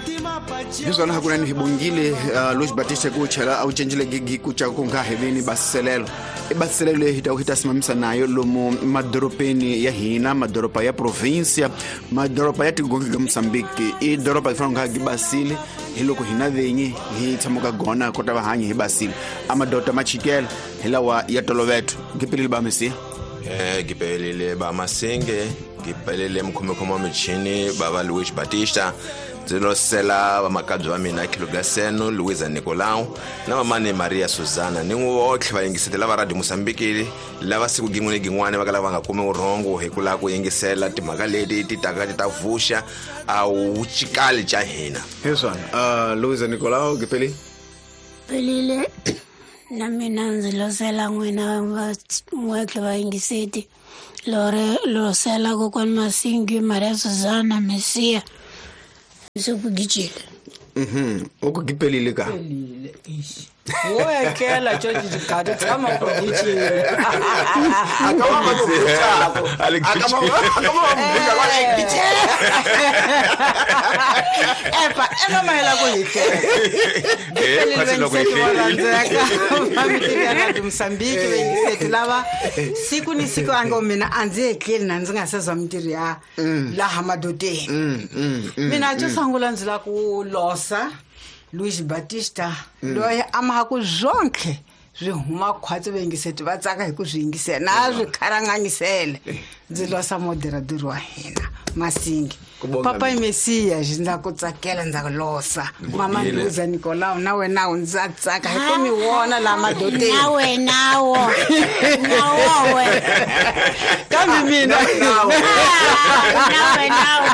Hi swona hakunene hi bongile Luis Batista ku chela a wu cencile gigi ku ca ku nga heveni basiselelo. I basiselelo leyi hi ta hi ta simamisa nayo lomu madorobeni ya hina, madoroba ya provincia, madoroba ya tigongi ka Mozambique. I doroba yi fanele nga gi basile hi loko hina venyi hi tshamaka gona kota va hanyi hi basile. A madota ma chikela hi lawa ya toloveto. Gipelile ba Mesiya. Gipelile ba Masinge, gipelile mukhomekhome wa michini bava Luis Batista. Ndzi losela vamakabye va mina Khilogaseno, Luisa Nicolau na mamani Maria Susana ni votlhe vayingiseti lava Radio Mozambique lava siku gin'we ni gin'wana va kala va nga kumi vurhongo hi ku lava ku yingisela timhaka leti ti taka ti ta vuxa a wucikali ca hina. Hi swona. Luisa Nicolau, gipeli. Pelile na mina ndzi losela n'wina van'wetlhe vayingiseti. Lore losela kokwani Masingi, Maria Susana, Mesiya. Sekugijile. U ku gipelile ka? Wo etlela George Digado tshama ku gijile. Epa ema mahela ku hi tlela. Khwatsi loko hi hlelile. Vamiti Mozambique vayingiseti lava siku ni siku a ngo mina a ndzi etleli na ndzi nga se zwa mintirho ya laha madodeni. Mina xo sungula ndzi lava ku losa Luis Batista loyi a maha ku zonke swi huma khwatsi vayingiseti va tsaka hi ku swi yingisela na swi kharanganyisele. Ndzi losa moderador wa hina Masingi. Papa i Mesiya ndza ku tsakela ndza ku losa. Mama Luisa Nicolau na wena u ndza tsaka hi ku mi vona laha madodeni. Na wena wo. Na wowe. Kambe mina. Na wena wo.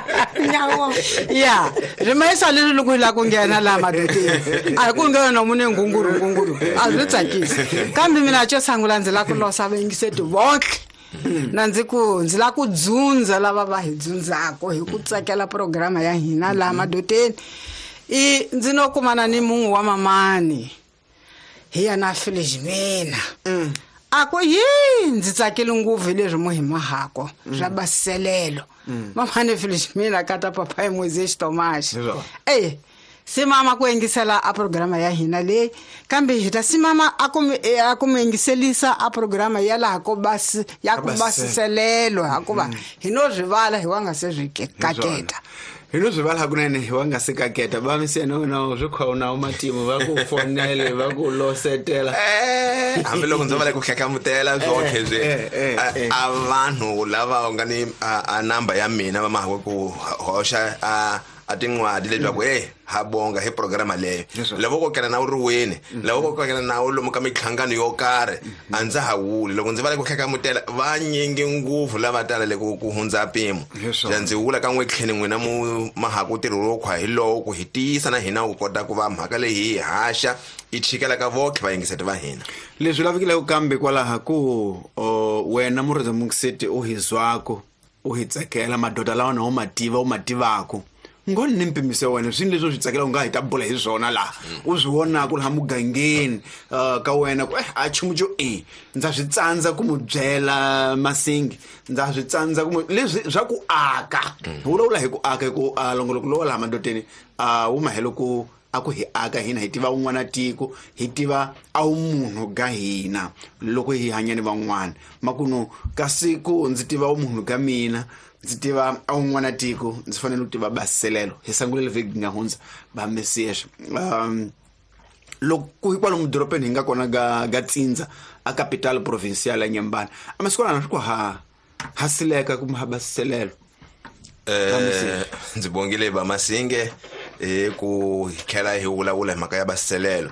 Na wo. Ya, ri mayisa leswi loko hi lava ku nghena laha madodeni. A hi ku nghena na mune ngunguru ngunguru. A swi tsakisi. Kambe mina xo sungula ndzi lava ku losa vayingiseti vonke. Na ndzi ku ndzi lava ku dzundza lava va hi dzundzako hi ku tsakela programa ya hina laha madodeni. I ndzi no kumana ni munhu wa mamani hi yena Felizmina. A ku yi ndzi tsakile ngopfu hi leswi mu hi mahako swa basiselelo. Mamani Felizmina kata papa hi Moises Tomas. Simama ku yingisela a programa ya hina leyi, kambe hi ta simama a ku mi, a ku mi yingiselisa a programa ya laha ko basi, ya ku basiselelo, hikuva hi no swi vala hi wa nga se swi kaketa. Hi no swi vala hakunene hi wa nga se kaketa. Va mi se no na swi khona u matimu va ku fonele va ku losetela. Hambiloko ndzi va le ku hlekhamutela swonke swi, a vanhu lava nga ni a number ya mina va mahwe ku hoxa a tin'wadi leswaku ha bonga hi programa leyo. Loko ko kena na u ri wini, loko ko kena na u lomu ka minhlangano yo karhi, a ndza ha wuli. Loko ndzi va le ku hlekhamutela, va nyingi ngopfu lava tala le ku hundza mpimo. Xa ndzi wula ka n'we tlheni n'wina mu mahaku ntirho lowu khwa hi lowu ku hi tiyisa na hina ku kota ku va mhaka leyi hi haxa yi chikela ka votlhe vayingiseti va hina. Leswi lavekileke kambe kwalaha ku wena murhandzi muyingiseti u hi zwako, u hi tsakela madoda lawa na u ma tiva, u ma tivako. Ngoni ni mpimiso wa wena, swini leswi u swi tsakelaka u nga hi ta bula hi swona laha. U swi vonaka laha mugangeni ka wena ku a nchumu xo ndza swi tsandza ku mu byela Masingi, ndza swi tsandza ku mu, leswi swa ku aka. Hi vulavula hi ku aka, hi ku longoloko lowa laha madodeni wu mahelo ku a ku hi aka hina hi tiva un'wana tiko, hi tiva a wu munhu ga hina loko hi hanya ni van'wana. Makuno ka siku ndzi tiva wu munhu ga mina, ndzi tiva a un'wana tiko, ndzi fanele ku tiva basiselelo. Hi sangulele vhiki nga hundza ba Mesias. Loko hi kwalomu dorobeni hi nga kona ga Tsindza a capital provincial ya Nyambana, a masiku lama swi ku ha sileka kumbe ha basiselelo. Ndzi bongile ba Masinge hi ku hi tlhela hi vulavula hi mhaka ya basiselelo.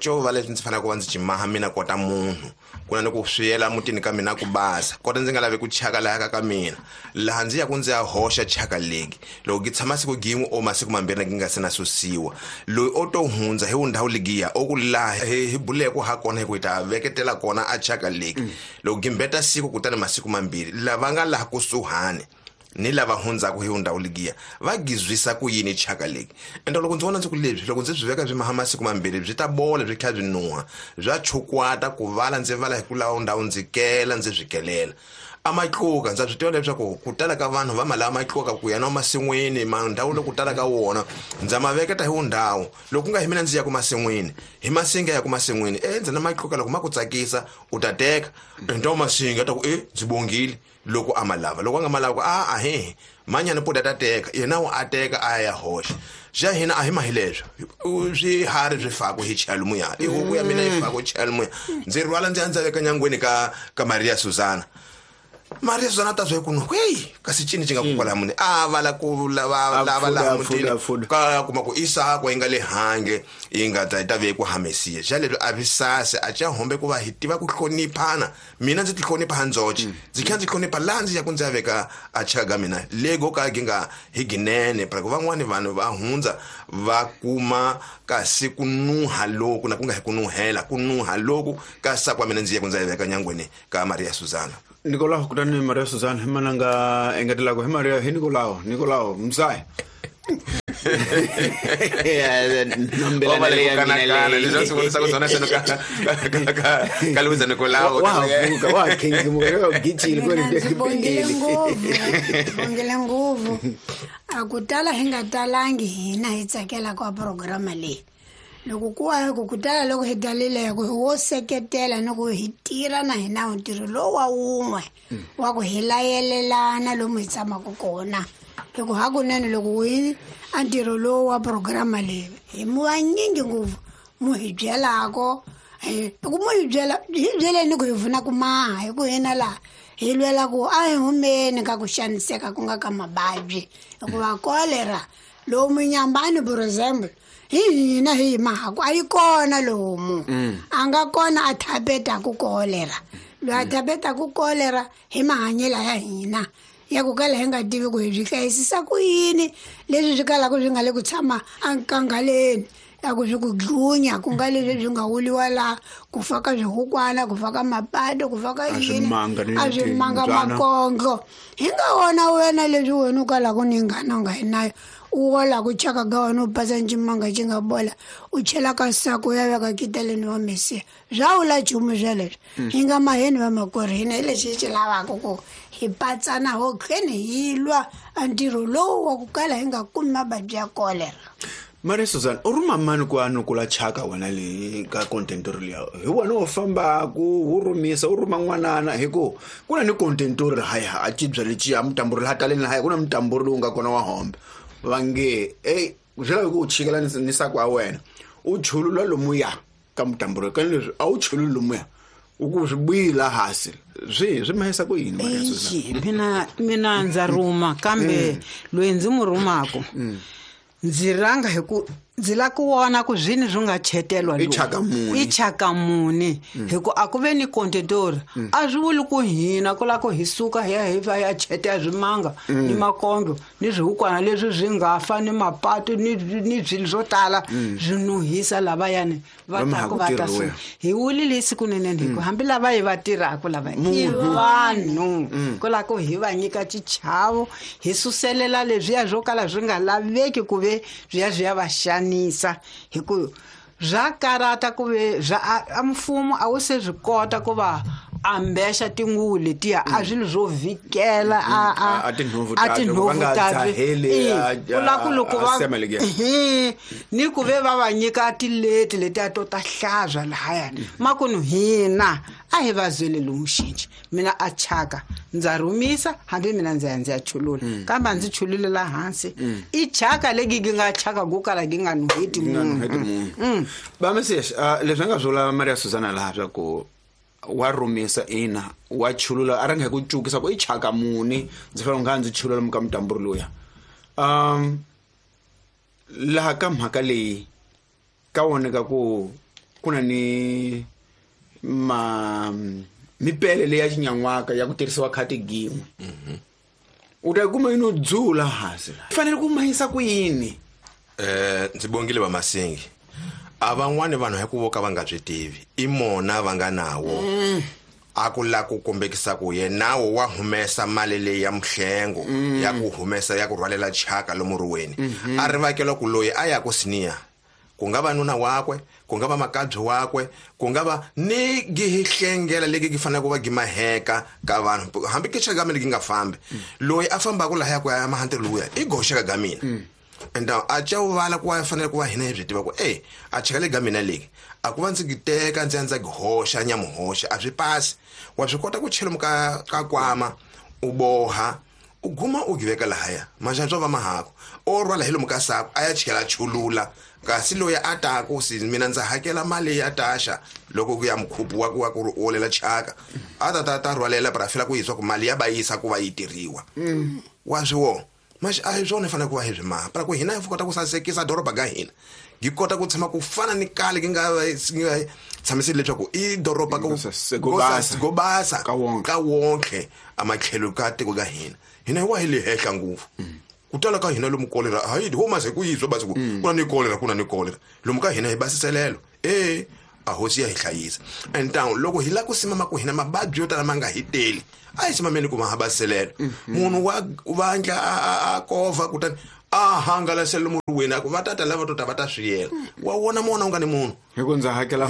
Co va leswi ndzi faneleke ku va ndzi cimaha mina kota munhu, ku na ni ku swiyela mutini ka mina ku basa, kota ndzi nga lavi ku chaka laha ka mina, laha ndzi ya ku ndzi ya hoxa chaka legi. Loko ki tshama siku gin'we o masiku mambirhi ki nga se na susiwa, loyi o to hundza hi ndhawu legiya o ku laha hi buleke ha kona hi ku hi ta veketela kona a chaka legi. Loko ki mbeta siku kutani masiku mambirhi, lava nga laha kusuhani ni lava hundzaka hi ndhawu legiya va gizwisa ku yini chaka legi. Ende loko ndzi vona ndzi ku leswi, loko ndzi swi veka swi maha masiku mambirhi byi ta bola byi tlhela byi nuha, bya chukwata ku vala ndzi vala hi ku lava ndhawu ndzi kela ndzi swi kelela. A matluka ndza swi tiva leswaku ku tala ka vanhu va ma lava matluka ku ya na masin'wini mandhawu loko tala ka wona ndza ma veketa hi wundhawu loko ku nga hi mina ndzi ya ku masin'wini hi masinga ya ku masin'wini ndzi na matluka loko ma ku tsakisa u ta teka ntawu masinga ta ku ndzi bongile loko a ma lava loko a nga ma lava ku a he manyana puta ta teka yena a teka a ya hoxa xa hina a hi ma hi leswo swiharhi swi faku hi chela muya i huku ya mina yi faku chela muya ndzi rhwala ndzi ya ndza veka nyangweni ka Maria Susana Maria Susana ta swi ku no hey kasi cini xi nga ku kwala muni a va la ku lava lava la mutini ka kuma ku isa ku inga le hange inga ta ta ve ku hamesiya xa leswi a visase a cha hombe ku va hi tiva ku hloniphana mina ndzi ti hlonipha handzoche ndzi kha ndzi hlonipha laha ndzi ya ku ndzi ya veka a chaka mina lego ka ginga hi ginene para ku van'wani vanhu va hundza va kuma kasi ku nuha loku na ku nga hi ku nuhela ku nuha loku ka sakwa mina ndzi ya ku ndzi ya veka nyangweni ka Maria Susana Nicolao kutani Maria Susana hi mananga engetelako hi Maria hi Nicolao Nicolao mzai Bongile ngopfu a ku tala hi nga talangi hina hi tsakela ka programa leyi loko ku wa ku tala loko hi talile ku wo seketela ni ku hi tirha na hina ntirho lowu wa wun'we wa ku hi layelelana lomu hi tshamaka kona hi ku hakunene loko hi a ntirho lowu wa programa leyi hi vanyingi ngopfu mu hi byelako ku mu hi byela hi byeleni ku hi pfuna ku maha hi ku hina laha hi lwela ku a hi humeni ka ku xaniseka ku nga ka mavabyi hikuva kolera lowu munyambani for example hi hina hi mahaku a yi kona lomu a nga kona a thapetaku kolera loyi a thapetaku kolera hi mahanyelo ya hina ya ku kala hi nga tivi ku hi byi hlayisisa ku yini leswi swi kalaka swi nga le ku tshama enkangaleni ya ku swi ku dlunya ku nga leswi swi nga wuliwa laha ku fa ka swihukwana ku fa ka mapato ku fa ka yini a swi manga makondlo hi nga wona wena leswi wena u kalaka ni nghana u nga yi nayo u wola ku chaka ka wena u pasa ncimanga xi nga bola u chela ka sako ya veka kiteleni wa mesiya swa wula nchumu sweleswo hi nga maheni va makwerhu hina hi lexi hi xi lavaka ku hi patsana ho kheni hi lwa a ntirho lowu wa ku kala hi nga kumi mavabyi ya kolera Maria Susan u rhuma mani ku a nukula chaka wena leyi ka contentori liya hi wena u fambaku wu rhumisa u rhuma n'wanana hi ku ku na ni contentori haya a cibya leciya mutamburi laha taleni lahaya ku na mutamburi lowu nga kona wa hombe va nge ey swi lava ku u chikela ni sako wa wena u chulula lomuya ka mutamburi ka leswi a wu chululi lomuya u ku swi buyila hansi swi mahisa ku yini Maria Susan mina ndza rhuma kambe loyi ndzi mu rhumako ndzi ranga hi ku ndzi la ku vona ku zwini swi nga chetelwa i chaka muni i chaka muni hi ku a ku ve ni contentori a swi vuli ku hina ku la ku hi suka hi ya hi va ya chetela swimanga ni makondlo ni swihukwana leswi swi nga fa ni mapatu ni swilo swo tala swi nuhisa lavayani va taku va ta suka hi wulile siku ninene hi ku hambi lava hi va tirhaka lava i vanhu ku la ku hi va nyika xichavo hi suselela leswiya swo kala swi nga laveki ku ve swi ya va xanisa hi ku swa karata ku ve swa a mfumo a wu se swi kota ku va ambexa tinguvu letiya a swilo swo vhikela a tinhovu ta ku la ku loko va ni ku ve va va nyika tileti letiya to ta hlantswa lahayani makunu hina a hi va byele lomu xinci mina a chaka ndza rhumisa hambi mina ndzi ya ndzi ya chulula kambe a ndzi chululela hansi i chaka legi gi nga chaka ku kala gi nga nuheti munhu va Mesias leswi a nga vula Maria Susana laha swa ku wa rhumisa ina wa chulula a ranga hi ku cukisa ku i chaka muni ndzi fanele nga ndzi chulula muka mutamburi luya laha ka mhaka leyi ka voneka ku ku na ni ma mipele leyi ya xinyan'waka ya ku tirhisiwa khati gin'we u ta kuma yini u dzula hansi la fanele ku mahisa ku yini ndzi bongile va Masingi a van'wani vanhu hi ku vo ka va nga swi tivi i mona va nga nawo a ku la ku kombekisa ku ye nawo wa humesa mali leyi ya muhlengo ya ku humesa ya ku rhwalela chaka lomu riweni a ri vakela ku loyi a ya ku siniya Ku nga va nuna wakwe, ku nga va makabye wakwe, ku nga va ni gihihlengela leki gi faneleke ku va gimaheka ka vanhu, hambi ke chaka mina gi nga fambi. Loyi a fambaka lahaya ku ya mahantelo luya i goxeka ga mina. And a cha vala ku va fanele ku va hina hi byi tiva ku a cheka le ga mina leki a ku va ndzi gi teka ndzi ya ndza gi hoxa nyamuhoxa a swi pasi. Wa swi kota ku chela ka kwama u boha u guma u giveka lahaya maxantswa va mahako o rhwala hi lomu ka sako a ya chela chulula. Kasi loyi a taku si mina ndza hakela mali ya taxa loko ku ya mukhupu wa ku wa ku olela chaka a ta ta ta rhwalela para fela ku yiswa ku mali ya va yisa ku va yi tirhiwa. Wa swi wo maxi a hi swona fanele ku va hi swi maha para ku hina hi kota ku sasekisa doroba ga hina gi kota ku tshama ku fana ni kale gi nga tshamiseli leswaku i doroba go basa ka wonke a matlhelo ka tiko ga hina. Hina hi wa hi le henhla ngopfu. Ku tala ka hina lomu kolera hayi homa se ku yizwa basi ku kuna ni kolera kuna ni kolera lomu ka hina hi basiselelo a hosi ya hi hlayisa. And down loko hi la ku simama ku hina mababyi yo tala ma nga hi teli a hi simameni ku ma ha basiselelo. Munhu wa vandla a kova kutani a hangalasela murwini ku va tata lava to ta va ta swiyela. Wa wona mona u nga ni munhu hi ku ndza hakela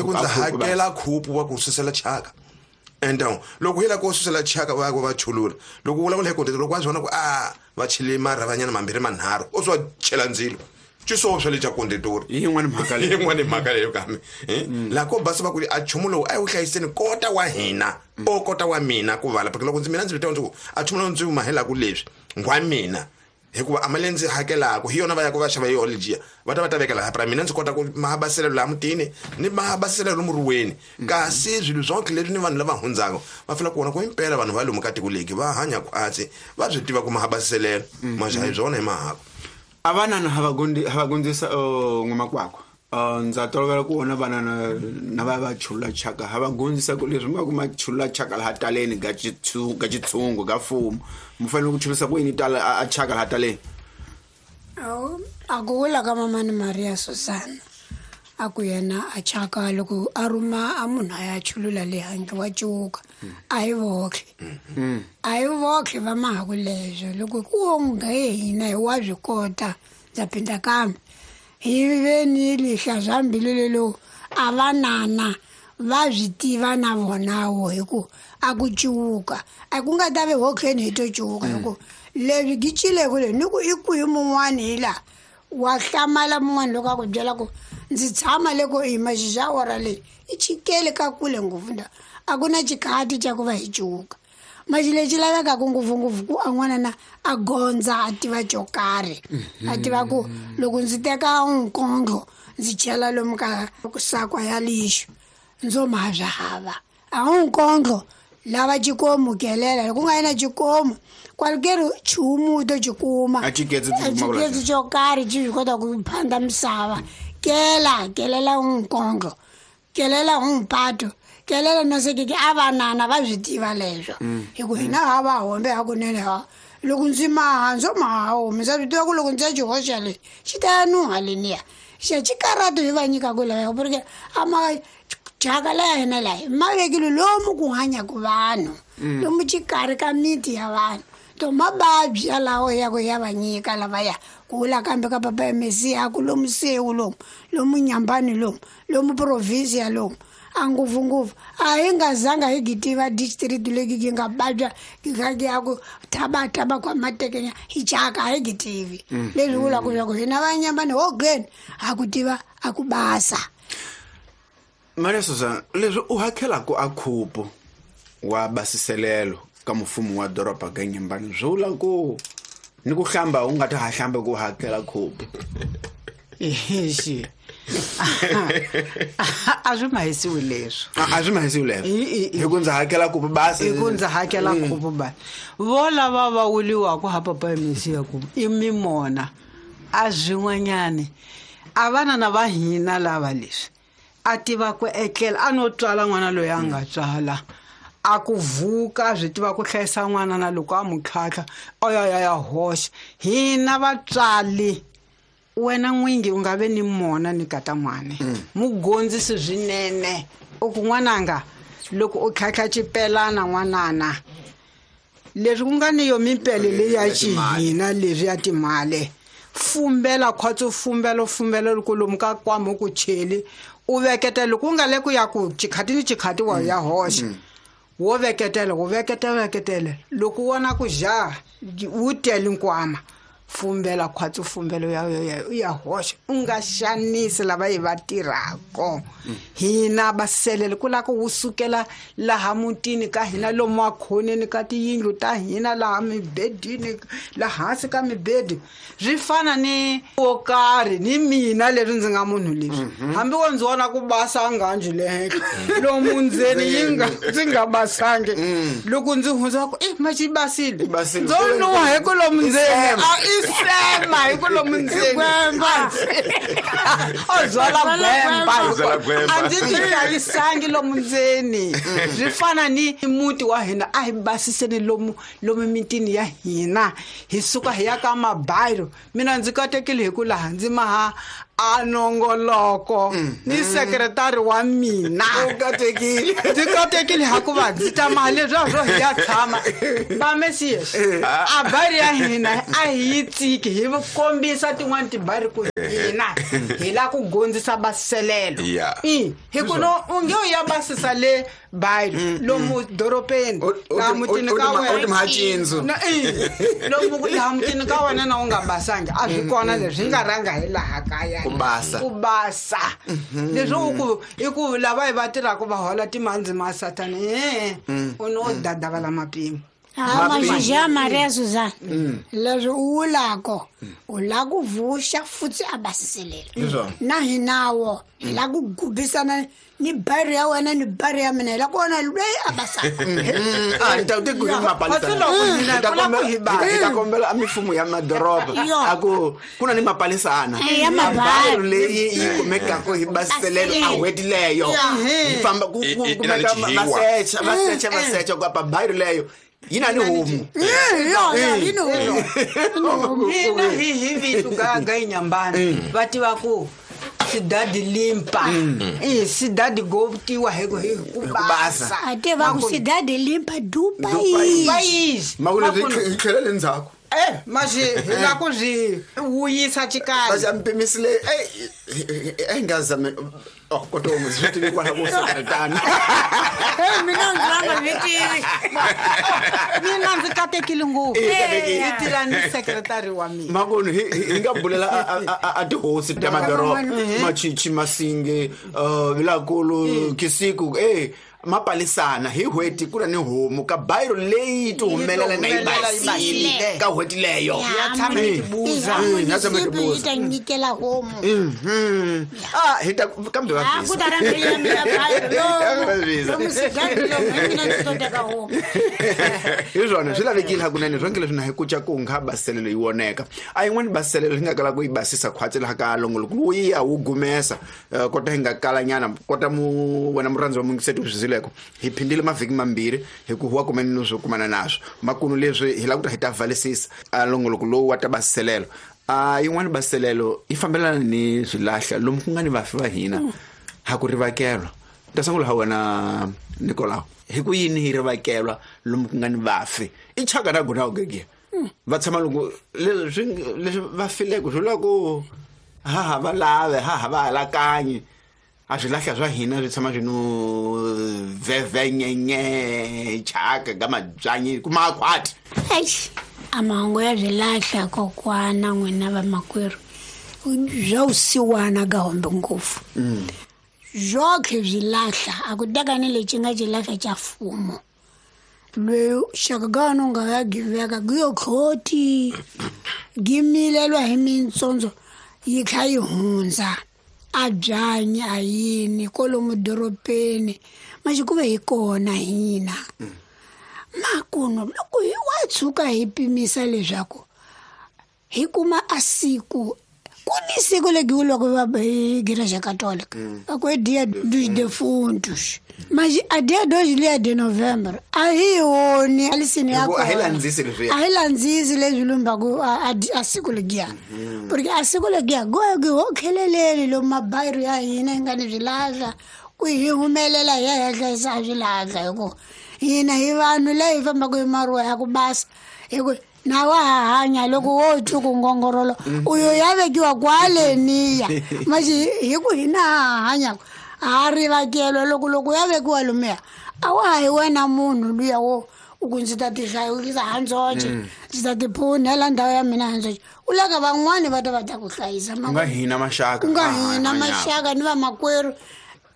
khupu wa ku susela chaka. And down loko hi la ku susela chaka va ku va chulula loko vulavula hi kontete loko wa swi vona ku va chele marhavanyana mambirhi manharhu o swa chela ndzilo xisowo swa le xa kondetori yin'wana mhaka leyi yin'wana mhaka leyo kambe la ko basa va ku a nchumu lowu a wu hlayiseni kota wa hina o kota wa mina ku vala loko ndzi mina ndzi vitana ndzi ku a nchumu lowu ndzi wu mahelaku leswi ngwa mina hikuva a mali ndzi hakelaka hi yona va ya ku va xava yona lejiya va ta va ta veka laha para mina ndzi kota ku mahabaselo laha mutini ni mahabaselo murhuweni. Kasi swilo swonke leswi ni vanhu lava hundzaka va fanele ku vona ku impela vanhu va lomu ka tiko leki va hanya khwatsi va swi tiva ku mahabaselelo maxa hi swona hi mahako. A vanana ha va gondzisa n'wamakwakwa ndza tolovela ku vona vanana na va va chulula chaka ha va gondzisa ku leswi ma ku ma chulula chaka laha taleni ga xitshungu ga mfumo mu fanele ku chulisa ku yini tala a chaka laha taleni. A ku vula ka mamani Maria Susana a ku yena a chaka loko a rhuma a munhu a ya chulula le handle wa cuka a hi vohle a hi vohle va mahaku leswo loko ku onge hina hi wa swi kota ndza phinda kambe hi ve ni lihla swa mbilu lelo a vanana va swi tiva na vonawo hi ku a ku cuka a ku nga ta ve hokleni hi to cuka hi ku leswi gi cileku le ni ku i kwihi mun'wani hi laha wa hlamala mun'wani loko a ku byela ku ndzi tshama le ko yima xixa ora leyi i chikele ka kule ngopfu nda a ku na xikhati xa ku va hi cuka maxi lexi lavekaka ngopfungopfu ku a n'wana na a gondza a tiva xo karhi a tiva ku loko ndzi teka nkondlo ndzi chela lomu ka sakwa ya lixo ndzo ma swa hava a nkondlo lava xikomu kelela loko ku nga yina xikomu kwalukeri chumu to xikuma a xiketsi xo karhi xi swi kota ku phanda misava kela kelela nkondlo kelela mpato kelela no sekeke a vanana va swi tiva leswo hi ku hina ha va hombe hakunene ha loko ndzi maha ndzo maha homi ndza swi tiva ku loko ndzi ya xihoxa le xi ta ya nuha leniya xa xikarato hi va nyikaku laya porque a ma chaka laya hina laya ma vekile lomu ku hanyaku vanhu lomu xikarhi ka miti ya vanhu to mababyi yalawo ya ku ya va nyika lavaya ku vula kambe ka papa ya Mesiya ku lomu sewu lomu lomu Nyambani lomu lomu province lomu a ngopfungopfu a hi nga zanga hi gitiva district leki gi nga babya gi kha gi ya ku thabataba kwa matekenya hi chaka a hi gitivi leswi vulaka leswaku hina va Nyambani hogeni ha ku tiva a ku basa. Maria Susana leswi u hakelaku a khupu wa basiselelo ka mfumo wa doroba ga Nyambani swi vula ku ni ku hlamba u nga ta ha hlamba ku hakela khupu. Exi a swi mahisiwi leswo a swi mahisiwi leswo hi ku ndza hakela khupu basi hi ku ndza hakela khupu basi vo lava va wuliwaka ha papa ya Mesiya ku i mimona a swin'wanyani a vanana va hina lava leswi a tiva ku etlela a no tswala n'wana loyi a nga tswala a ku vuka swi tiva ku hlayisa n'wana na loko a mu tlhatlha a ya ya ya hoxa hina vatswali wena n'wingi u nga ve ni mona ni kata n'wana mugondzisi swinene u ku n'wananga loko u tlhatlha xipelana n'wanana leswi ku nga ni yo mimpele leyi ya xihina leswi ya timali Fumbela khwatsi fumbela fumbela loko lomu ka kwama ku cheli u veketela loko u nga le ku ya ku chikhati ni chikhati wa ya hoxa wo veketela wo veketela veketela loko u vona ku ja wu tele nkwama fumbela khwatsi fumbela ya ya ya hoxa u nga xanisi lava hi va tirhako hina baselele ku lava ku wu sukela laha mutini ka hina lomu makhoneni ka tiyindlu ta hina laha mibedini laha hansi ka mibedi swi fana ni wo karhi ni mina leswi ndzi nga munhu leswi hambi wo ndzi vona ku basa nghanji le henhla lomu ndzeni yi nga ndzi nga basangi loko ndzi hundza ku i ma xi basile I basile. ndzo nuha hi ku lomu ndzeni sema. a i sema hi ku lomu ndzeni o byala gwemba O byala gwemba. a ndzi ti hlayisangi lomu ndzeni swi fana ni muti wa hina a hi basiseni lomu lomu mitini ya hina hi suka hi ya ka mabayiro mina ndzi katekile hi ku laha ndzi maha a nongoloko ni sekretari wa mina U katekile. Ndzi katekile hakuva ndzi ta maha leswiya swo hi ya tshama va mesias a bari ya hina a hi yi tsiki hi kombisa tin'wani tibari ku hina hi lava ku gondzisa baselelo Yeah. I, hi ku no u nge u ya basisa le bayiro lomu dorobeni laha mutini ka U ti wena macindzo Na, i, lomu laha mutini ka wena na u nga basangi a swi kona leswi hi nga rhanga hi laha kaya Ku basa. ku basa leswi u ku i ku lava hi va tirhaka va hola timhandzi ma sathana e u no dadavala mapimo Ah, Majija Maria Suzana leswi u vulako u lava ku vuxa futhi a basiselela Hiswona. na hinawo hi lava ku gubisana ni bari ya wena ni bari ya mina hi lava ku vona loyi a basaka Ah, ni ta ku Kasi mapalisana loko hina Hi ta hi kula ku kombela- hi basa. hi ta kombela a mifumo ya madoroba Yo. a ku ku na ni mapalisana Eh, ya mabari. Mabari leyi yi kumekaka hi basiselelo a n'hweti leyo yi famba ku I- ku i- i na kumeka ni xihiwa. va secha va secha va secha ku apa bayiro leyo yi na ni homu yo hina hi hi vitu ga ga inyambani va tiva ku sidadi limpa i sidadi go tiwa hi ku hi ku basa. basa a tiva ku sidadi limpa dupa Dupa yi va yizi makulu hi tlhela le ndzhaku eh maxi hi la ku swi wuyisa xikaya va xa mpimisile e nga zame oh kotomu swi tivi kwala ku sekretana mina ndzi va nga swi tivi mina ndzi katekile ngopfu I katekile. hi tirha ni sekretari wa mina makunu hi nga bulela a tihosi ta madoroba machichi masinge vilakulu kisiku e mapalisana hi n'hweti ku na ni homu ka bayiro leyi ti humelela na yi Yi ti humelela yi basile basile. ka n'hweti leyo Ya tshama yi tibuza. Ya tshama yi yi tibuza. ta nyikela homu Mhm. Ah, hi ta kambe va Ah, ku ta rhangela ya mina bayiro Va visa. lomu sidadi lomu hi mina ndzi to teka homu hi swona swi lavekile hakunene swonke leswi na hi kuca ku nga baselelo yi voneka a yin'wani baselelo hi nga kala ku yi basisa khwatsi laha ka longoloko wu ya wu gumesa kota hi nga kalanyana kota mu wena murhandzi wa mungiseti u swi zileko hi phindile mavhiki mambirhi hi ku wa kumene no swo kumana naswo makunu leswi hi lava ku ta hi ta valisisa a longoloko lowu wa ta baselelo a yin'wani baselelo yi fambelana ni swilahla lomu ku nga ni vafi va hina ha ku rivakelwa ta sungula ha wena Nicolau hi ku yini hi rivakelwa lomu ku nga ni vafi i chaka na gona gegia va tshama loko leswi leswi va fileko swi vula ku ha ha va lave ha ha va alakanyi a swilahla swa hina swi tshama swi no vevenyenye chaka ka mabyanyi kuma akhwati Eish, a mahungu ya swilahla kokwana n'wina vamakwerhu bya vusiwana ka hombe ngopfu byotlhe byi lahla a ku teka ni lexi nga xilahla xa mfumo loyi xaka ka wena u nga ya giveka giyo tlhoti gimilelwa hi mintsondzo yi kha yi hundza a byanyi a yini kwalomu dorobeni maxi ku ve hi kona hina makuno loko hi wa tshuka hi pimisa leswaku hi kuma a siku ku ni siku legi loko va hi igreja católica va ku i dia dos defuntos mas a dia 2 liya de november a hi yoni alisini ya Hi ku a hi kona. landzisi leswiya. a hi landzisi leswi lumbaku a siku legiya porque a siku legiya gogi ho kheleleni lomu mabayiro ya hina hi nga ni swilahla ku hi humelela hi ya hi ya hlayisa a swilahla hi ku hina hi vanhu la hi fambaka hi maruwa ya ku basa hi ku Na wa ha hanya loko wo twi ku ngongorolo u yo ya vekiwa kwaleniya maxi hi ku hina ha hanyaka ha rivakelwa loko ya vekiwa lomuya a wa ha hi wena munhu luya wo u ku ndzi ta tihlayisa handzoxe ndzi ta tiphunhela ndhawu ya mina handzoxe u laka van'wani va ta va ta ku hlayisa ku nga hina maxaka ku nga hina maxaka ni vamakwerhu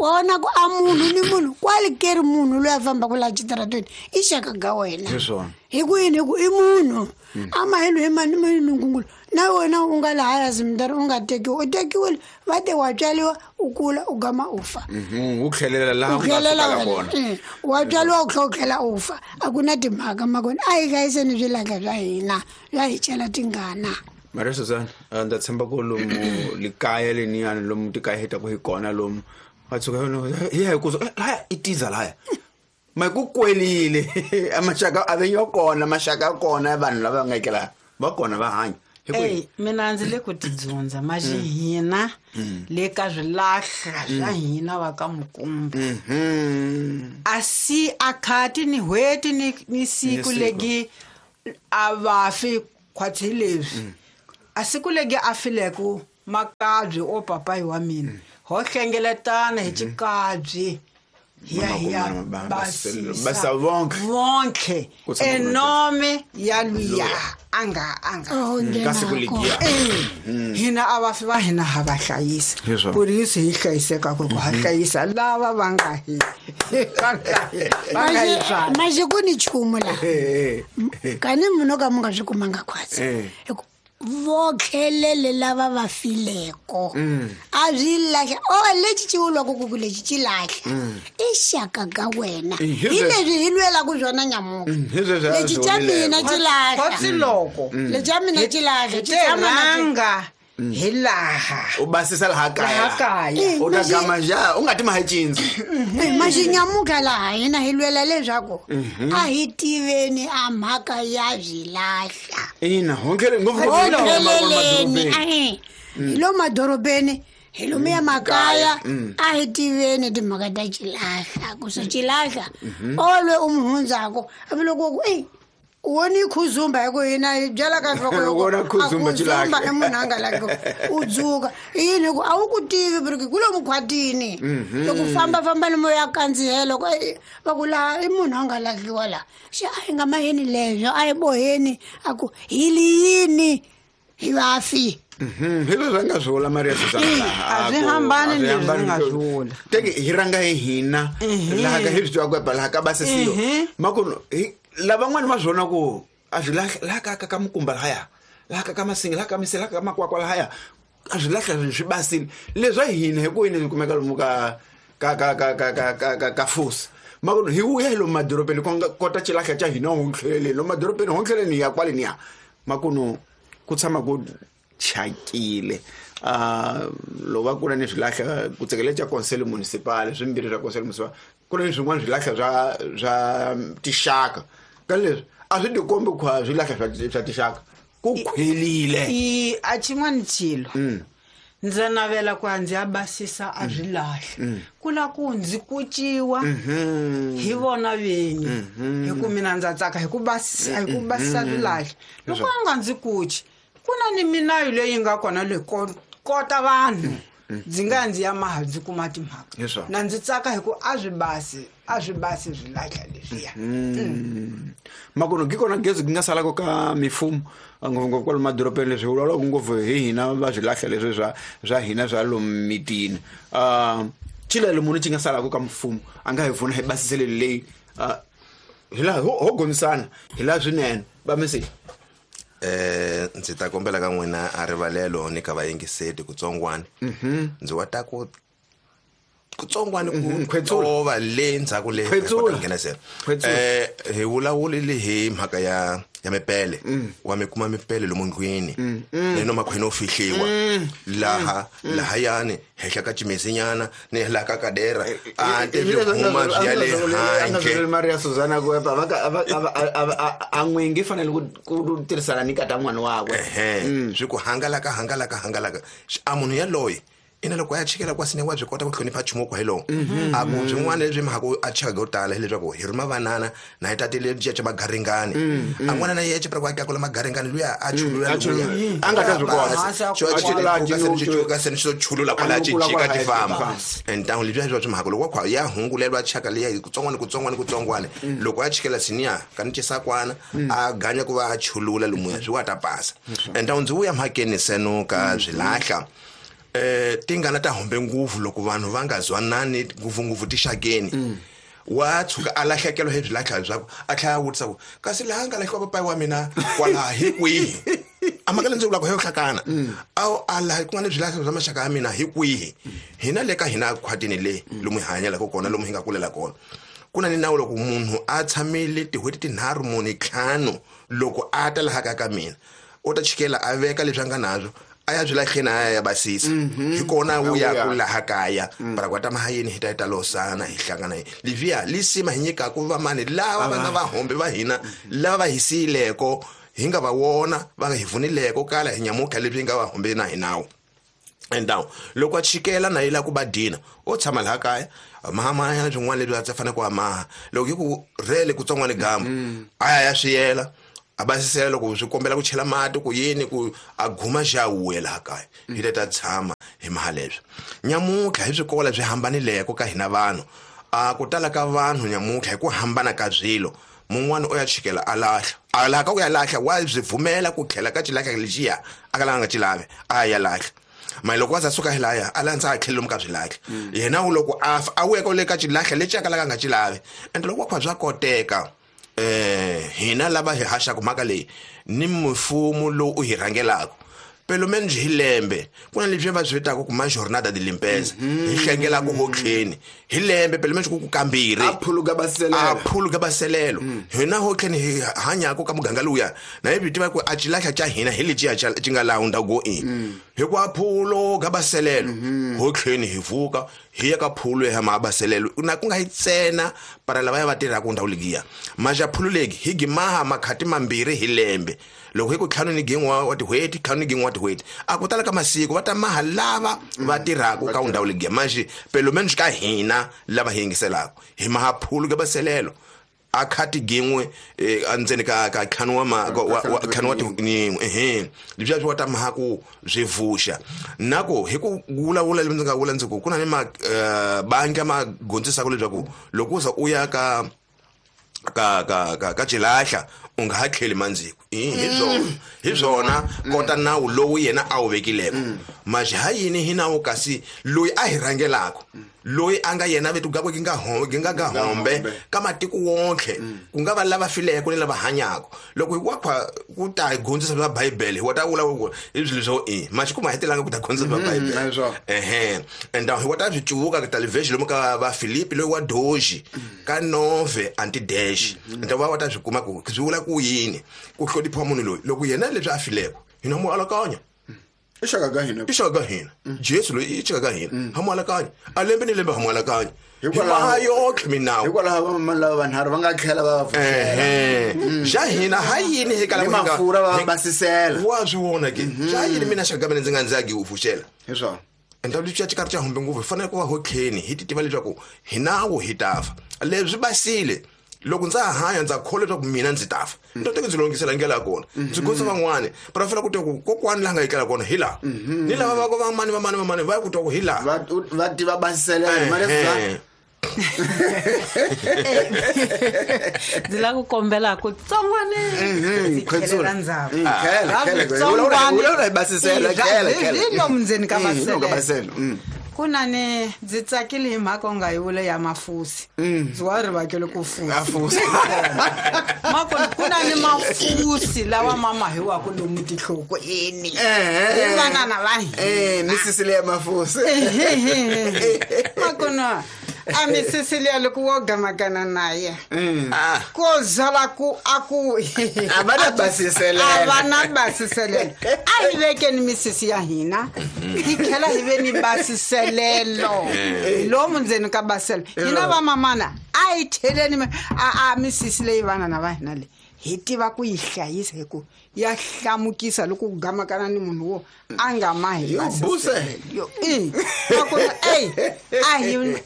wa vona ku a munhu ni munhu kwale keri munhu loyi a fambaka laha xitaratweni i xaka ga wena Hi swona. Hi ku yini? Hi ku i munhu a mahelo hi mani mani nkungulu na wena u nga lahaya zimdari u nga tekiwi u tekiwile va te wa tswaliwa u kula u gama u fa. U tlhelela laha u u nga tlhelela sukela wena. kona. Wa tswaliwa u tlhela u tlhela u fa a ku na timhaka makona a hi hlayiseni swilahla swa hina swa hi chela tingana. Maria Susan, ndza tshemba ku lomu likaya leniyani lomu tikaya hi taku hi kona lomu va tshuka hi ya hi ku laya i tiza laya ma ku kwelile a maxaka a ve yo kona maxaka ya kona ya vanhu lava nga ekela va kona va hanya hi ku Ey, mina ndzi le ku tidzundza maxi hina le ka swilahla swa hina va ka Mukumba. A si a khati ni n'hweti ni siku Ni siku. legi a vafi khwatsi leswi. A siku legi a fileku makabyi o papayi wa mina ho hlengeletana hi xikabyi hi ya hi ya Mama, basisa basa vonke. vonke Ku tshama ku ri enome ya luya a nga a nga Oh, Ka siku nghenako. legiya. Hina a vafi va hina ha va hlayisa Hi swona. ku ri se hi hlayiseka ku ri ku ha hlayisa lava va nga hi va nga hi tswala. Maxi ku ni nchumu laha kani munhu o ka mu nga swi kumanga khwatsi hi ku votlhelele lava va fileko a swi lahla o lexi xi vulwaka ku ku lexi xi lahla i xaka ka wena Hi hi sweswo. leswi hi lwelaka swona nyamuka Hi sweswo a lexi swi xa vulileko. mina xi lahla Khotsi loko lexi xa mina xi lahla hi xi te tshama na xi- rhanga hi laha u basisa laha kaya Laha kaya. u ta gama ja u nga ti mahi cindzi. Maxinyamuka laha hina hi lwela leswaku a hi tiveni a mhaka ya swilahla. Ina hontlhele ngopfu Hotlheleleni ahe hi lo madorobeni hi lomuya makaya a hi tiveni timhaka ta xilahla ku swi xilahla olwe u mu hundzako hambi loko ku ei u woni khuzumba hi ku hina hi byela ka nhloko Loko u vona khuzumba a xilahla. i munhu a nga laki u dzuka i yini hi ku a wu ku tivi porque ku lomu khwatini loko fambafamba lomu ya kandzihela ku "Ei, va ku laha i munhu a nga lahliwa laha xe a hi nga maheni leswo a hi boheni a ku hi li yini hi vafi." Hi leswi a nga swi vula Maria Susan laha, A swi ku- hambani a swi leswi hambani nga leswi. swi vula. Teke hi rhanga hi hina laha ka hi swi tivaka ku laha ka basisiwa makunu hi lavan'wani va swi vona ku a swi lahla laha ka ka Mukumba lahaya laha ka ka Masinga laha ka Misela laha ka Makwakwa lahaya a swi lahla swi basile leswa hina hi ku yini swi kumeka lomu ka ka ka ka ka ka ka ka ka fusi makunu hi vuya hi lomu madorobeni ku nga kota xilahla xa hina hontlheleni lomu madorobeni hontlheleni hi ya kwale niya makunu ku tshama ku chakile loko va kula ni swilahla ku tsekele xa consel municipal swimbirhi swa consel municipal ku na ni swin'wana swilahla swa tixaka ka leswi a swi tikombi ku a swilahla swa tixaka ku khwelile. I a xin'wana xilo ndza navela ku a ndzi ya basisa a swi lahla ku la ku ndzi kuciwa hi vona vinyi hi ku mina ndza tsaka hi ku basisa hi ku basisa swilahla loko a nga ndzi kuci ku na ni minayo leyi nga kona leyi kota vanhu ndzi nga ya ndzi ya maha ndzi kuma timhaka Hi swona. na ndzi tsaka hi ku a swi basi a swi basi swilahla leswiya. Makunu ki kona gezi ki nga salaka ka mifumo ngopfungopfu kwalomu madorobeni leswi vulavulaka ngopfu hi hina va swilahla leswi swa hina swa lomu mitini chilelo munhu xi nga salaka ka mfumo a nga hi pfuna hi basiseleli leyi hi laha ho gonisana hi laha swinene va misi. Ndzi ta kombela ka n'wina a rivalelo ni ka vayingiseti kutsongwani ndzi wa ta ku kutsongwani ku Khwetsula. tova le ndzhaku le Khwetsula. kota ku nghenisela. Khwetsula. Hi vulavulile hi mhaka ya mipele wa mi kuma mipele lomu ndlwini ni no makhwini o fihliwa laha lahayani henhla ka cimesinyana ni laha ka kadera a te swi huma swi ya le handle. Maria Susana ku epa a n'wingi fanele ku tirhisana ni kata n'wana wakwe. Ehe swi ku hangalaka hangalaka hangalaka a munhu yaloye Ina loko a ya chikela kwasini wa byi kota ku hlonipha nchumu kwa hi lowu. A ku byin'wana lebyi mhaka a chaka go tala hileswaku hi rhuma vanana na hi tatile cece magaringani. A n'wana na yece pra kwa kula magaringani luya a chulula luya. A nga ta swi kota. Xo A chulula chika se xo chulula kwala ci jika ti famba. Entangu lebyi bya mhaka loko kwa ya hungulelwa chaka liya hi kutsongwana kutsongwana kutsongwana. Loko a chikela siniya ka ni chisakwana a ganya ku va a chulula lumuya swi wa ta pasa. Entangu ndzi vuya mhakeni seno ka swilahla. Tingana ta hombe nguvu loko vanhu va nga zwanani ngopfungopfu tixakeni. Wa tshuka a lahlekelo hi swilahla byakwe a tlhela a vutisa ku kasi laha nga lahliwa papayi wa mina kwalaha hi kwihi. A mhaka leyi ndzi vulaka hi yo hlakana. A laha ku nga ni swilahla bya maxaka ya mina hi kwihi. Hina le ka hina khwatini le lomu hi hanyelaka kona lomu hi nga kulela kona. Ku na ni nawu loko munhu a tshamile tin'hweti tinharhu mune ntlhanu loko a ta laha ka mina u ta chikela a veka leswi a nga nazwo a ya swilahleni a ya basisa. Hi kona wu ya ku laha kaya para ku ta mahayeni hi ta ta losana hi hlangana hi livia lisima hi nyika ku va mani lava va nga vahombe va hina lava va hi siyileko hi nga va wona va nga hi vunileko kala hi nyamuka leswi nga va hombe na hi nawu. And now loko a chikela na yila ku ba dina o tshama laha kaya mahama ya swin'wana leswi a fanele ku amaha loko hi ku rhele kutsongwana gambu a ya swiyela a basisela loko swi kombela ku chela mati ku yini ku a guma xa wuya laha kaya hi ta tshama hi mahaleswo. Nyamutlha hi swikola swi hambanileko ka hina vanhu a ku tala ka vanhu nyamutlha hi ku hambana ka swilo mun'wana o ya chikela a lahla a laha ka ku ya lahla wa byi vumela ku tlhela ka xilahla lexiya a ka la nga xilavi a ya lahla. Mali loko wa za suka hi laya a landza a tlhela lomu ka swilahla yena u loko a fa a wuya ka le ka xilahla lexi a kalaka nga xilavi ende loko wa khwa bya koteka hina lava hi haxaka mhaka leyi ni mfumo lowu u hi rhangelaka pelo menos hi lembe ku na leswi va swi vitaka ku ma jornada de limpeza hi hlengela ku hotleni hi lembe pelo menos ku kambirhi a phuluka baselelo a phuluka baselelo hina hotleni hi hanyaka ka muganga luya na hi tiva ku a xilahla xa hina hi lexi xi nga laha ndhawu go in hi ku a phuluka baselelo hotleni hi vuka hi ya ka phulu ya mabaselelo na ku nga hi tsena para lava ya va tirhaka ndhawu leyiya maja phululeki hi gimaha makhati mambirhi hi lembe loko hi ku ntlhanu ni gin'we wa tin'hweti ntlhanu ni gin'we wa tin'hweti a ku tala ka masiku va ta maha lava va tirhaka ka ndhawu leyiya manje pelo menos ka hina lava hi yingiselaka hi maha phulu ka baselelo a khati gin'we endzeni ka ka ntlhanu wa ntlhanu wa tin'we leswi wa ta maha ku swi vuxa na ku hi ku vulavula leswi ndzi nga vula ndzi ku ku na ni mabangi ma gondzisaka leswaku loko u za u ya ka ka ka ka ka xilahla u nga ha tlheli mandziko hi swona kota nawu lowu yena a wu vekileko manje ha yini hi nawu kasi loyi a hi rhangelaka loyi a nga yena vetu gakwe gi nga hombe gi nga ga hombe ka matiko wonke ku nga va lava fileko ni lava hanyaka loko hi wa ku ta hi gondzisa bya Bibele hi wa ta vula ku hi swilo swo i manje ku ma hetelanga ku ta gondzisa bya Bibele ehe and hi wa ta swi cuvuka ka television lomu ka va Filipi loyi wa doji ka nove anti dash and va wa ta swi kuma ku swi vula ku yini ku hlonipha munhu loyi loko yena leswi a fileko hina mu alakanya i xaka ka hina i xaka ka hina Jesu loyi i xaka ka hina ha mu alakanya a lembe ni lembe ha mu alakanya hikwalaho yotlhe minawu hikwalaho vamama lava vanharhu va nga tlhela va va pfuxela xa hina ha yini hi kala mafurha va basisela wa swi vona ke xa yini mina xaka mina ndzi nga ndzi ya u pfuxela hi swona endla leswi xa xikarhi xa humbe ngopfu hi fanele ku va hotlheni hi ti tiva leswaku hi nawu hi ta fa leswi basile loko ndza hanya ndza kholwa leswaku mina ndzi ta fa ndzi ta ndzi lungisela ndlela ya kona ndzi gondza van'wani para fanele ku twa ku kokwani laha nga yikela kona hi laha ni lava va vamani vamani vamani va ya ku twa ku hi laha va tiva basiselela mali ndzi lava ku kombela ku tsongwane khwetsula ndzhaku hi lomu ndzeni ka basela ku na ni ndzi tsakile hi mhaka u nga yi vula ya mafusi ndzi wa rivakele ku fusi makona ku na ni mafusi lawa ma mahiwaka lomu tinhlokweni hi vanana va hina misisi leya mafusi makona a misisi liya loko wo gamakana na ye ko zala ku a ku a va na basiselelo a va na basiselelo a hi vekeni misisi ya hina hi tlhela hi ve ni basiselelo hi lomu ndzeni ka baselo hina vamamana a hi cheleni a misisi leyi vanana va hina leyi Hi tiva ku yi hlayisa hi ku ya hlamukisa loko ku gamakana ni munhu wo a nga mahi Yo, buse. yo i nakona ey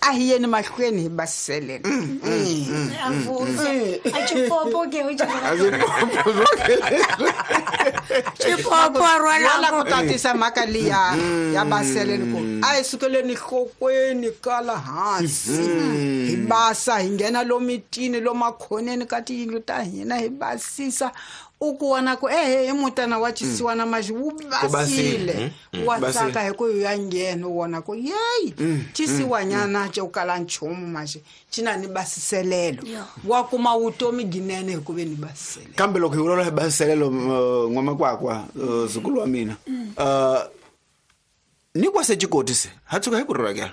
a hi yeni mahlweni hi basiselela. A vusa a chipopo ke u chipopo a Wala rhwala ku tatisa mhaka liya ya baseleni ku a hi sukeleni nhlokweni kala hansi hi basa hi nghena lomitini lomakhoneni ka tiyindlu ta hina hi basisa u ku vona ku ehe i mutana wa chisiwana maxi wu basile wa tsaka hi ku ya nghena u vona ku yeyi chisiwanyana xo kala nchumu maxi xi na ni basiselelo wa kuma vutomi ginene hi ku ve ni basiselelo. Kambe loko hi vulavula hi basiselelo n'wamakwakwa zukulu wa mina ni kwase xikoti se ha tshuka hi ku rivakela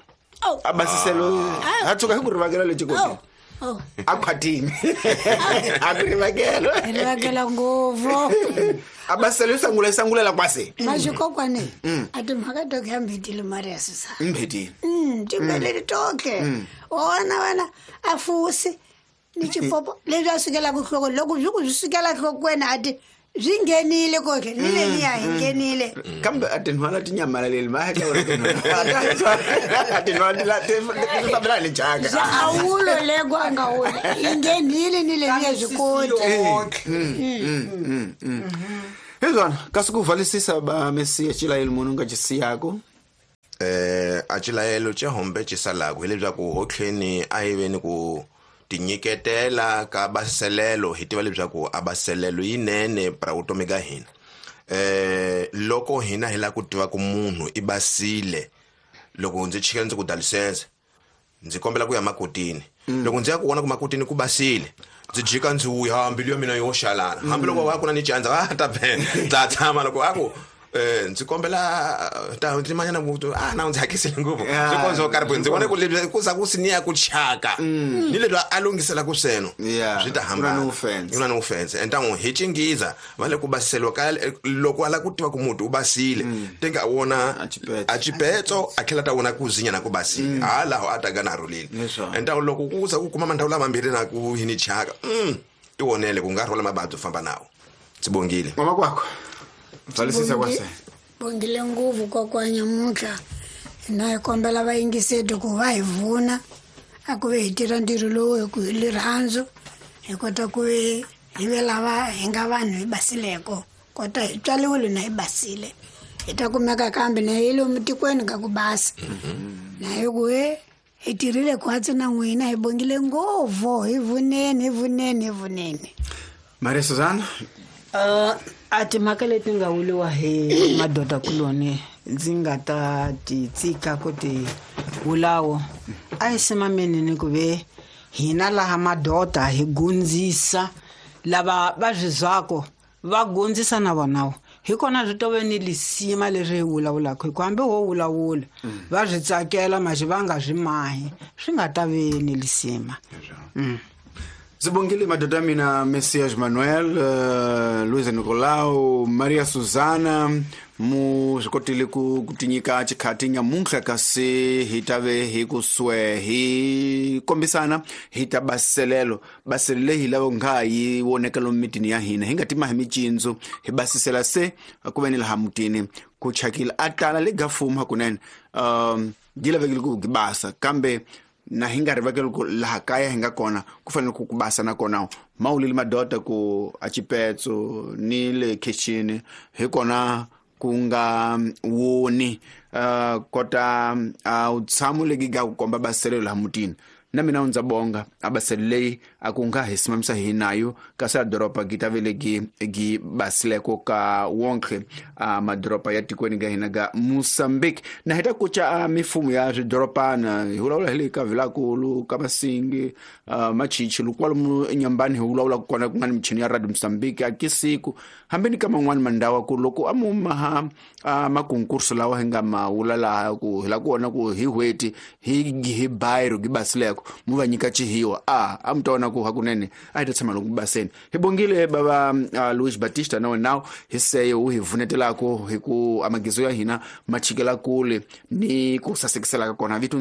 a basiselo ha tshuka hi ku rivakela le xikoti a khwatini a ku rivakela hi rivakela ngopfu a basiselo yi sangula yi sangulela kwase maxikokwane a timhaka toke ya mbhetile Maria Susana mbhetile timbeleli toke wona wena a fusi ni chipopo leswi a sukelaka nhlokweni loko swi ku swi sukela nhlokweni a ti swi nghenile koke ni leniya hi nghenile kambe a tinhwala ti nyamalaleli ma hatla a tinhwala ti fambela hi le jaka swa a wulo leko a nga wula yi nghenile ni leniya swi koti hi swona kasi ku vhalisisa ba mesiya xilayelo munhu u nga xisiyako a xilayelo xa hombe xi salaku hileswaku hotlheni a hi veni ku tinyiketela ka basiselelo hi tiva leswaku a basiselelo yinene pra vutomi ka hina. Loko hina hi lava ku tiva ku munhu i basile loko ndzi chika ndzi ku dalisense ndzi kombela ku ya makotini loko ndzi ya ku vona ku makotini ku basile ndzi jika ndzi vuya mbilu ya mina yo xalala hambi loko va ku na ni candza va ta ta tshama loko a ku ndzi kombela ta ndzi manyana ku na ndzi hakisile ngopfu swi kondzo karhi ndzi vona ku leswi ku za ku siniya ku chaka ni leswi a lunghisela ku sweno swi ta hambana ku na ni offense entangu hi chingiza va le ku basiseliwa ka loko ala ku tiva ku muti u basile tenga wona a chipetso a tlhela ta wona ku zinya na ku basile halaho a ta ga na rhulile entangu loko ku za ku kuma mandhawu lamambirhi na ku hi ni chaka ti vonele ku nga rhwala mababyi famba nawo ndzi bongile mama kwakho vhalisisa kwase bongile ngopfu kokwanya mutlha hina hi kombela vayingiseti ku va hi vuna a ku ve hi tirha ntirho lowu hi ku hi lirhandzu hi kota ku hi ve lava hi nga vanhu hi basileko kota hi tswaliwile na hi basile hi ta kumeka kambe na hi lomu tikweni ka ku basa na hi ku hi tirhile khwatsi na n'wina hi bongile ngopfu hi vuneni hi vuneni hi vuneni. Maria Susana a timhaka leti nga vuliwa hi madoda kuloni ndzi nga ta ti tsika ku ti vulawo a hi simameni ni ku ve hina laha madoda hi gundzisa lava va swi zwako va gundzisa na vonawo hi kona swi tove ni lisima leri hi vulavulaka hi ku hambi ho vulavula va swi tsakela maxi va nga swi mahi swi nga ta ve ni lisima. Ndzi bongile madoda ya mina Messias Manuel, Luisa Nicolau, Maria Susana mu swi kotile ku tinyika xikhati nyamuntlha kasi hi ta ve hi ku swe hi kombisana hi ta basiselelo baselo leyi hi lava nga yi voneka lomu mitini ya hina hi nga tima hi micindzu hi basisela se ku ve ni laha mutini ku chakile a tala le ga fuma hakunene yi lavekile ku basa kambe na hi nga rivakeli ku laha kaya hi nga kona ku fanele ku basa na kona mawulile madoda ku a chipetso ni le kitchen hi kona ku nga woni kota a u tshamo legi ga ku komba baselelo laha mutini na mina ndza bonga a baselo leyi a ku nga hi simamisa hi nayo kasi a doroba gi ta velegi gi basileko ka wonke a madoroba ya tikweni ga hina ga Mozambique na hi ta kuca a mifumo ya swidoropana hi vulavula hi le ka Vilakulu ka Masingi Machichi kwalomu enyambani hi vulavula kona ku nga ni michini ya Radio Mozambique a kisiku hambi ni ka man'wani mandhawu ku loko a mu maha a makonkurso lawa hi nga ma wula laha ku hi la ku vona ku hi hweti hi bayiro gi basileko mu va nyika chihiwa a mu ta vona ku hakunene a hi ta tshama loko baseni hi bongile bava Luis Batista na wena hi seye u hi vunetelako hi ku amagizo ya hina ma chikela kule ni ku sasekisela ka kona vito.